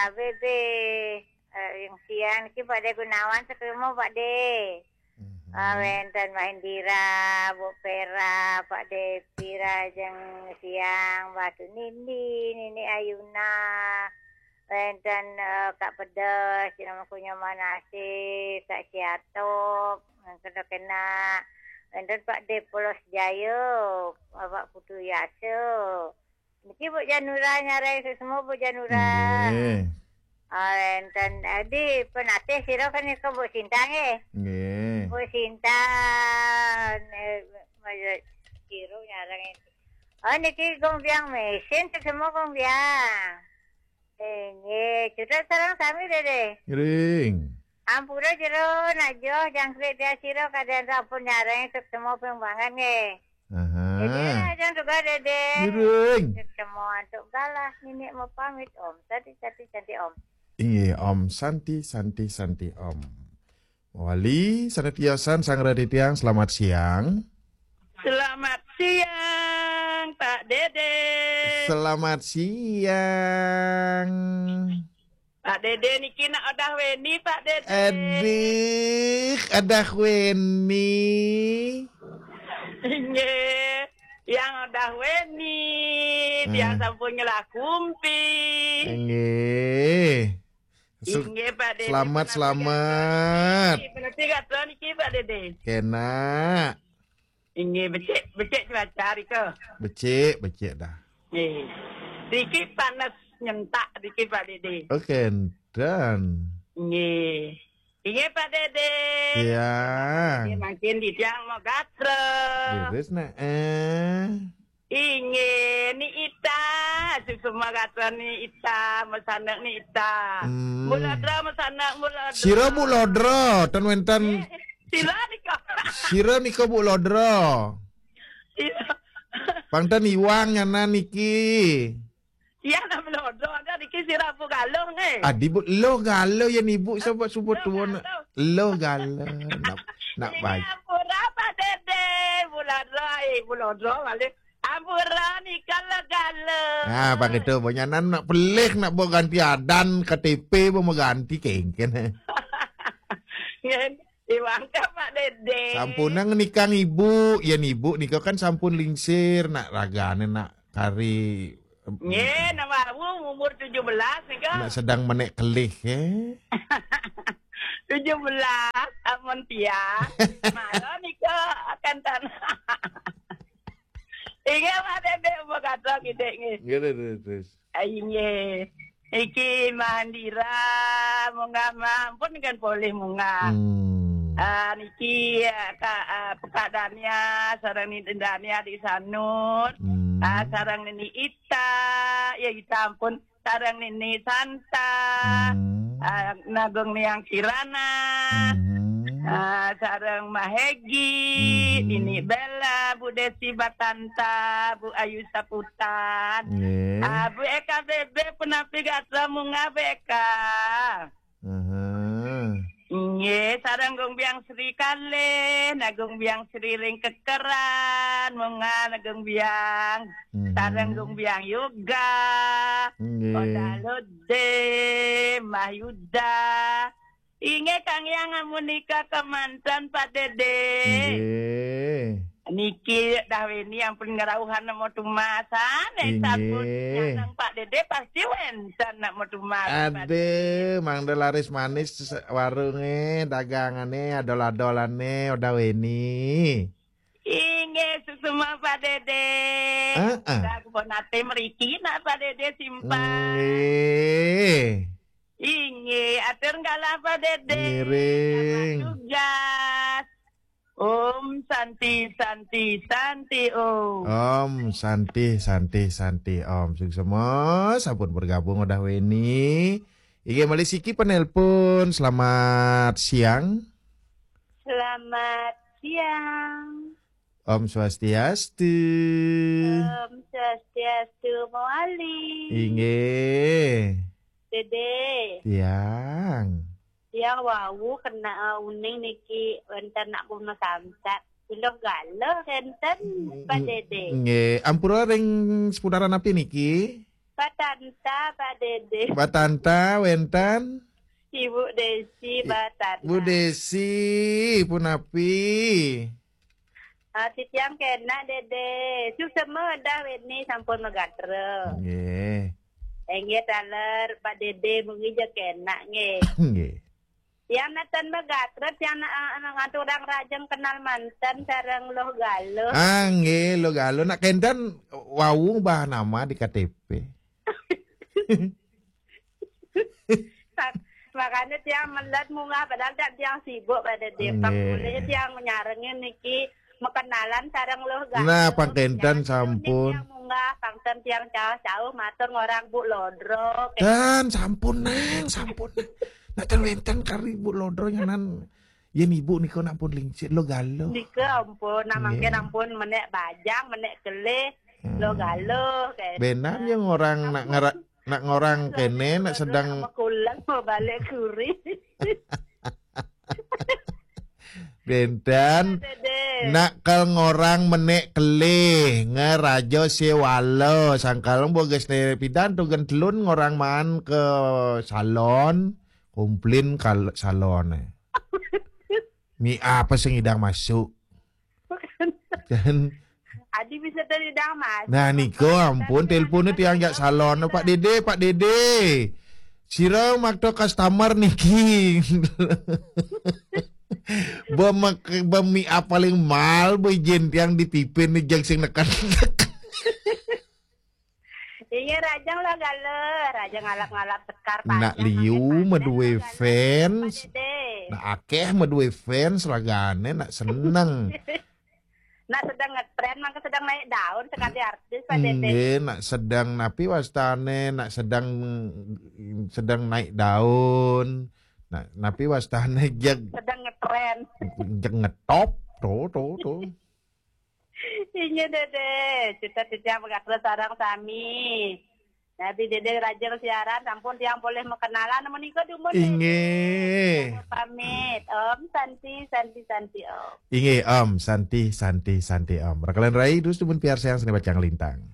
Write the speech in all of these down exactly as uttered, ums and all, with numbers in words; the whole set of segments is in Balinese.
Abe be, eh, yang siang niki Pak De Gunawan sekelemu Pak De. Ah, wenten Mahendira, Bu Pera, Pak De Pira, jeng siang, Batu Nindi, Nini Ayuna, wenten, eh, Kak Pedes, jenama kunya Manase, Kak Siatop, yang kena-kena, wenten Pak De Polos Jayo, Bapak Putu Yaso. Niki Bu Janura nyareng semua Bu Janura. Nggih. Ah, enten, eh, di penatih sira kan niku Bu Sinta nggih. Nggih. Bu Sinta, eh, Mas Siro nyareng itu. Oh, niki Gong Biang mesin semua Gong Biang. Eh, nggih, sudah sareng sami Dede. Ngiring. Ampura jero najo jangkrik dia sira kadang sampun nyareng semua pembangan nggih. Aha. Dede, ajeng juga Dede. Ngiring. Semua untuk galah nini mau pamit Om. Tadi tadi cantik Om. Iya, Om Santi, Santi, Santi, Om. Wali, sana tiasan, sang titiang, selamat siang. Selamat siang, Pak Dede. Selamat siang. Pak Dede niki nak odah weni, Pak Dede. Aduh, odah weni. Inggih, yang odah weni, dia sampun nyelah kumpi. Inggih. Sel- Inggih, Pak Dede. Selamat, selamat. Penati gatra niki, Pak Dede. Kena. Inggih, becik, becik cuaca rika. Becik, becik dah. Nggih. Dikit panas nyentak dikit, Pak Dede. Oh, kenten. Nggih. Inggih, Pak Dede. Iya. Nggih, makin di tiang mau gatra. Iris nak eh. Inggih, ni Ita, susu magatra ni Ita, mesanak ni Ita. Hmm. Muladra mesanak muladra. Sira Bu Lodra, ten wenten. Eh, sira nika. Sira nika Bu Lodra. Sira. Pangten iwang nyana niki. Iya, nak Bu Lodra, ada niki sira Bu Galuh nggih. Adi Bu, lo Galuh ya ibu sebut sebut tuan. Lo Galuh. Nak nak Ini baik. Ampura Pak Dede, Bu Lodra, eh, Bu Lodra balik. Ampura nika legala. Nah, bang itu, banyanan nak pelih, nak buat ganti adan, K T P, buat mengganti kengken. Ngen, iwang ka Pak Dede. Sampun nang nikang ibu, ya ibu nika kan sampun lingsir, nak ragane, nak kari. Nggih, nama aku umur tujuh belas nika. Nak sedang menek kelih, eh. Tujuh belas, amun tiang. Malah nika akan tanah. Inggih, Pak Dede, apa kata kita nggih? Nggih, terus, terus. Ah, inggih. Iki Mahandira, munggah ma-, ampun kan polih munggah. Hmm. Ah, niki, ah, Kak, ah, Pekak Dania, sareng Nini Dania di Sanur. Hmm. Ah, sareng Nini Ita, ya Ita ampun, sareng Nini Santa. Hmm. Ah, Nagung Niang Kirana. Hmm. Ah, sareng Mahegi, hmm. Nini Bella, Bu Desi Batanta, Bu Ayu Saputan. Nggih. Ah, Bu Eka Bebe, punapi gatra munggah Bu Eka. Aha. Nggih, sareng Gung Biang Sri Kalih, Nagung Biang Sri ring kekeran, munggah Nagung Biang. Mhm. Sareng Gung Biang Yoga. Nggih. Oda Lode, Mbah Yuda. Inggih, Kang Yang amunika kemanten, Pak Dede. Nggih. Niki dah weni ampun ngerauhan nemu tumasan, eh, inggih. Sampun nyandang Pak Dede pasti wenten nemu tumasan, Pak Dede. Aduh, mangda laris manis se-, warunge, dagangane, adol-adolane, udah weni. Inggih, susuma Pak Dede. Heeh. Dah kebon ate meriki nak Pak Dede simpang. Nggih. Inggih, atur galah Pak Dede. Ngiring. Selamat tugas. Om Santi, Santi, Santi Om. Om Santi, Santi, Santi Om. Suksma, sampun bergabung udah weni. Inggih, malih siki penelpon. Selamat siang. Selamat siang. Om Swastiastu. Om Swastiastu, Mawali. Inggih. Dede. Tiang. Tiang wau kena, uh, uning niki wenten nak kuno samsat. Puluh galuh enten, Pak Dede. Nggih, ampura ring seputaran api niki? Pak Tanta, Pak Dede. Batanta wénten. Ibu Desi, Pak Tanta. Bu Desi, punapi? Ah, titiang kénak, Dede. Suksma dah wéni sampun magatra. Nggih. Inggih taler, Pak Dede, mugi ja kénak nggih. Nggih. Tiang nénten magatra, tiang na- ah, ngaturang rahajeng kenal manten sareng Luh Galuh. Ah, nggih, Luh Galuh. Nak kénten wau bah nama di K T P. Mak- Makanya tiang melet munggah, padahal tak tiang sibuk pada Depok. Nggih. Mulai tiang nyarengin niki makenalan sareng Luh Galuh. Nah, pang kénten Tiang sampun. Tiang munggah, pangten tiang cauh-cauh matur ngorang Bu Lodro. Dan sampun, Neng, sampun. Nah, ten wénten kari Bu Lodro nyanan. Yén ibu nika nak pun lingsir, Luh Galuh. Nika ampun, nah mangkin Nggih. Ampun menék bajang, menék kelih, Hmm. Luh Galuh kayak. Bénan ya ngorang nak ngera, nak ngorang kéné nak sedeng Kuleng mau balik kuri. Bénten Dede. nak kal ngorang menék kelih ngeraja sewala sangkal boges né pidan tu gentelun ngorang maan ke salon, komplain kal salon. Mi apa sing idang masuk? Dan Adi bisa dari damas. nah nika ampun teleponnya tiang jak salon, Pak Dede, Pak Dede. Sira makta customer niki. Bem bem mi apa paling mal bejin tiang di tipin ni jeng sing neken. Iya, rajang lah gala, rajang ngalap-ngalap sekar Nak panjang, liu panjang medue lah gala. Fans. Pak Dede. Nak akeh medue fans ragane nak seneng. Nak sedang ngetren, mangke sedang naik daun sekali artis Pak Dede. Nggih, nak sedang napi wastane, nak sedang sedang naik daun. Nak napi wastane jeg Sedang ngetren. jeg ngetop, to to to. Inggih Dede, cita-cita megatus sarang sami. Nabi Dede rajin siaran, sampun tiang boleh mengenalan menika dumun. Inggih. Pamit, Om Santi, Santi, Santi, Om. Inggih, Om Santi, Santi, Santi, Om. Rakalan rai terus dumun piarsayang seni bacang lintang.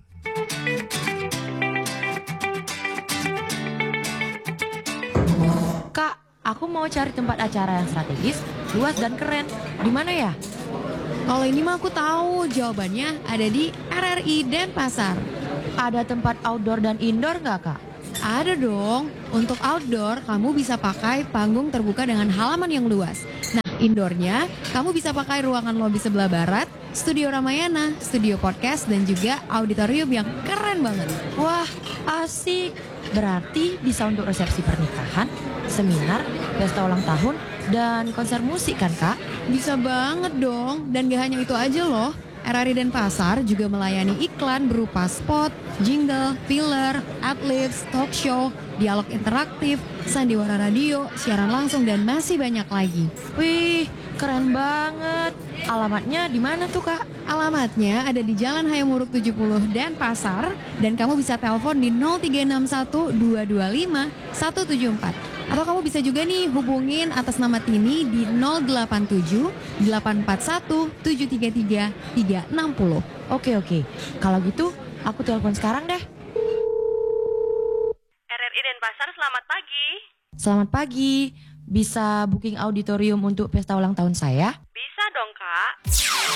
Kak, aku mau cari tempat acara yang strategis, luas dan keren. Di mana ya? Kalau ini mah aku tahu jawabannya ada di R R I Denpasar. Ada tempat outdoor dan indoor nggak, Kak? Ada dong. Untuk outdoor, kamu bisa pakai panggung terbuka dengan halaman yang luas. Nah, indoornya, kamu bisa pakai ruangan lobi sebelah barat, studio Ramayana, studio podcast, dan juga auditorium yang keren banget. Wah, asik. Berarti bisa untuk resepsi pernikahan, seminar, pesta ulang tahun, dan konser musik kan, Kak? Bisa banget dong. Dan gak hanya itu aja loh. R R I Denpasar juga melayani iklan berupa spot, jingle, filler, adlibs, talk show, dialog interaktif, sandiwara radio, siaran langsung, dan masih banyak lagi. Wih, keren banget. Alamatnya di mana tuh, Kak? Alamatnya ada di Jalan Hayam Wuruk tujuh puluh Denpasar, dan kamu bisa telepon di nol tiga enam satu dua dua lima satu tujuh empat. Atau kamu bisa juga nih hubungin atas nama Tini di nol delapan tujuh delapan empat satu tujuh tiga tiga tiga enam puluh. Oke, oke. Kalau gitu, aku telepon sekarang deh. R R I Denpasar, selamat pagi. Selamat pagi. Bisa booking auditorium untuk pesta ulang tahun saya? Bisa dong, Kak.